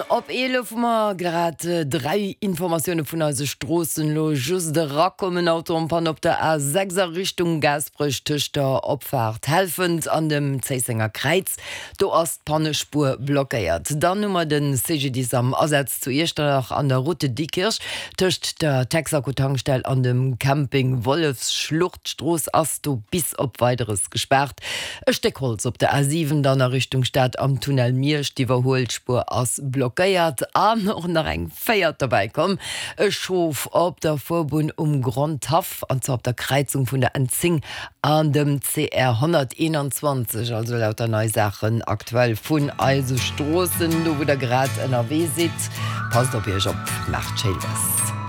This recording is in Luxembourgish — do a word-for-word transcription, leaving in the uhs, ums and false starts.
Op eelef hu mer grad dräi Informatioune vun eise Stroossen. Elo just erakommen, Auto en panne op der A sechs a Richtung Gaasperech tëscht der Opfaart Helfent an dem Zéissenger Kräiz. Do ass d'Pannespuer blockéiert. Dann hu mer de C G D I S am Asaz zu Iechternach an der Route de Diekirch tëscht der Texaco-Tankstell an dem Camping Wollefsschlucht. D'Strooss ass do bis op Weideres gespaart. E Stéck Holz op der A siwen dann a Richtung Stad am Tunnel Miersch, d'Iwwerhuelspuer ass blockéiert. An och nach eng véiert derbäi komm, e Schof op der Fuerbunn um Grondhaff, an zwar op der Kräizung vun der N zéng an dem C R honnerteenanzwanzeg. Also lauter nei Saachen aktuell vun eise Stroossen, do wou der grad ënnerwee sidd. Passt op iech op, maacht schéi lues.